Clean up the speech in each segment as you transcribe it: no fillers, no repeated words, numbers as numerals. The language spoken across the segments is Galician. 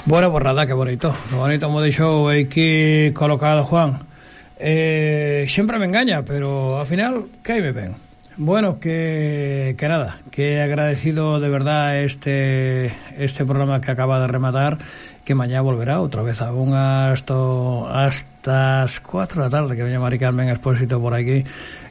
Bueno, pues nada, que bonito me deixou aquí colocado Juan. Sempre me engaña, pero ao final caime ben. Bueno, que nada, que agradecido de verdad este programa que acaba de rematar, que mañá volverá outra vez a hasta as 4 da tarde, que veña Mari Carmen Expósito por aquí,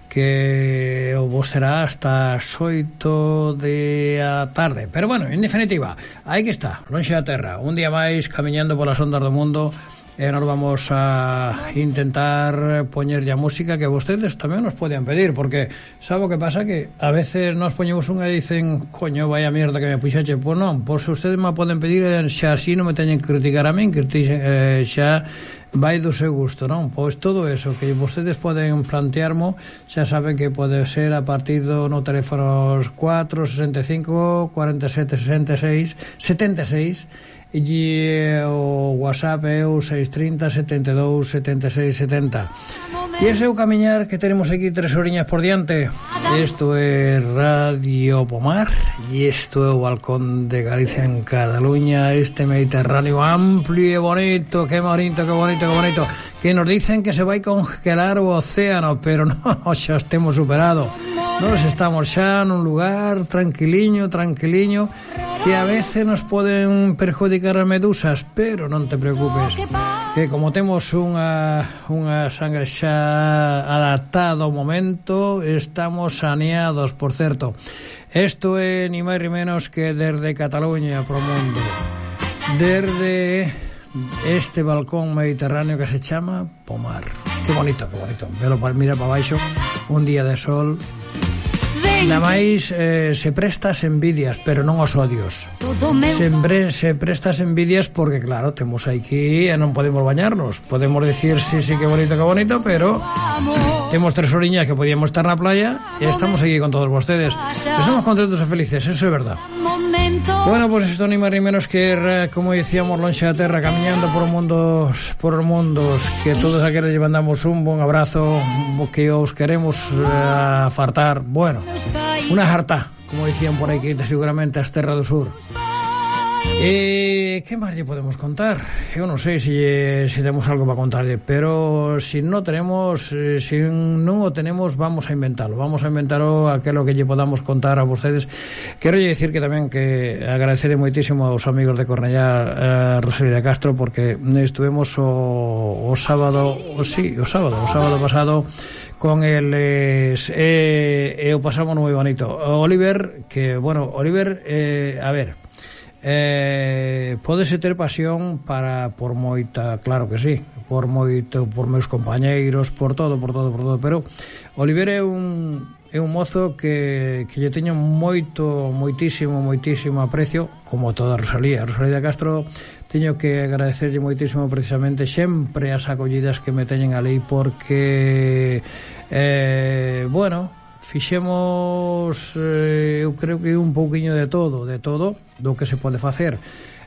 que vos será hasta as 8 da tarde. Pero bueno, en definitiva, aí que está, lonxe da terra, un día máis camiñando polas ondas do mundo. E nos vamos a intentar poñer ya música que vostedes tamén nos podían pedir, porque sabe o que pasa, que a veces nos poñemos unha e dicen, coño, vaya mierda que me puxache. Pois non, pois ustedes me poden pedir, xa así non me teñen que criticar a min, que xa vai do seu gusto, non? Pois todo eso que vostedes poden plantearmo, xa saben que pode ser a partir do no teléfono 465 47 66 76, e o WhatsApp é o 630 72 76 70. E ese é o camiñar que tenemos aquí 3 horiñas por diante. Isto é Radio Pomar e isto é o balcón de Galicia en Cataluña, este Mediterráneo amplio e bonito, que bonito, que bonito, que bonito, que nos dicen que se vai congelar o océano, pero non, xa estemos superado. Nos estamos xa nun lugar tranquiliño, que a veces nos poden perjudicar as medusas, pero non te preocupes, que como temos unha sangre xa adaptada ao momento, estamos saneados, por certo. Isto é ni máis ni menos que desde Cataluña pro mundo, desde este balcón mediterráneo que se chama Pomar. Que bonito, velo, mira para baixo, un día de sol. Nada máis se presta as envidias, pero non os odios. Sempre se presta as envidias porque, claro, temos aquí e non podemos bañarnos. Podemos decir, sí, que bonito, pero temos 3 horiñas que podíamos estar na playa e estamos aquí con todos vostedes. Estamos contentos e felices, eso é verdad. Bueno, pues isto ni máis ni menos que, como dicíamos, lonxe da terra, camiñando por mundos, que todos aqueles lle mandamos un bon abrazo, que os queremos fartar. Bueno, una jarta, como decían por aquí, seguramente as terras do sur. Que máis lle podemos contar? Eu non sei se temos algo para contarlle, pero se non o tenemos, vamos a inventalo aquelo que lle podamos contar a vostedes. Quero lle dicir que tamén que agradeceré moitísimo aos amigos de Cornellá, Rosalía de Castro, porque estuvemos o sábado pasado con eles e o pasamos moi bonito. Oliver, a ver, pódese ter pasión por moita, claro que sí, por meus compañeiros, por todo, pero Oliver é un mozo que lle teño moitísimo aprecio, como toda Rosalía de Castro. Teño que agradecerlle moitísimo precisamente sempre as acollidas que me teñen ali, porque fixemos, eu creo que un pouquiño de todo do que se pode facer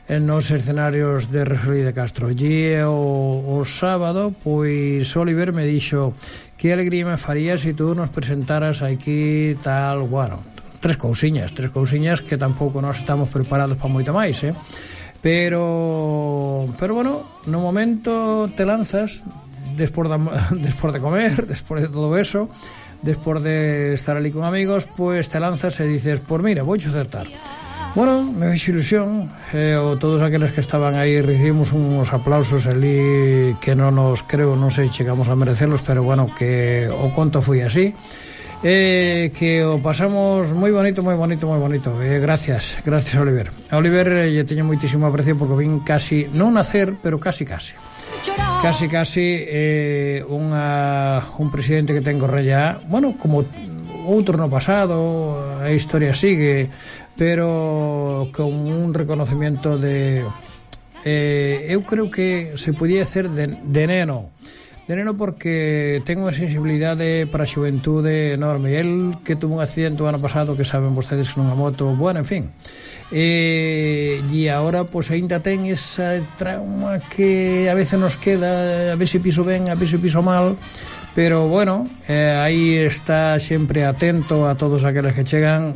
nos escenarios de Rosalía de Castro. E o sábado, pois Oliver me dixo que alegría me faría se tú nos presentaras aquí tal, bueno, tres cousiñas que tampouco nós estamos preparados para moito máis, pero bueno, no momento te lanzas despois de comer, despois de todo eso, despois de estar ali con amigos, pues te lanzas e dices, pues mira, vou acertar. Bueno, me fixo ilusión, todos aqueles que estaban aí recibimos uns aplausos ali que non sei chegamos a merecerlos, pero bueno, que o conto foi así, que o pasamos moi bonito. Gracias Oliver. A Oliver lle teño moitísimo aprecio, porque vin casi, non nacer, pero casi un presidente que ten Cornellá, bueno, como outro no pasado, a historia sigue, pero con un reconocimiento de eu creo que se podía hacer de neno, porque ten unha sensibilidade para a xuventude enorme. El que tuvo un accidente o ano pasado, que saben vostedes, nunha moto, bueno, en fin, e agora pois ainda ten esa trauma que a veces nos queda, a ver se piso ben, a ver se piso mal, pero bueno, aí está sempre atento a todos aqueles que chegan,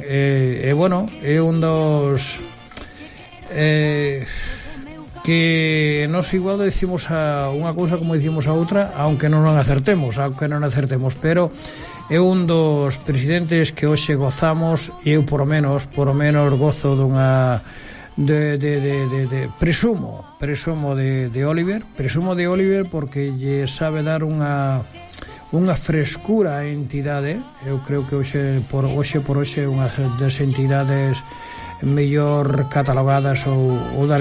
bueno, é un dos que nos igual decimos a unha cousa como dicimos a outra, aunque non acertemos, pero é un dos presidentes que hoxe gozamos, e eu por o menos gozo dunha presumo de Oliver porque lle sabe dar unha frescura á entidade. Eu creo que hoxe por hoxe unha das entidades mellor catalogadas ou das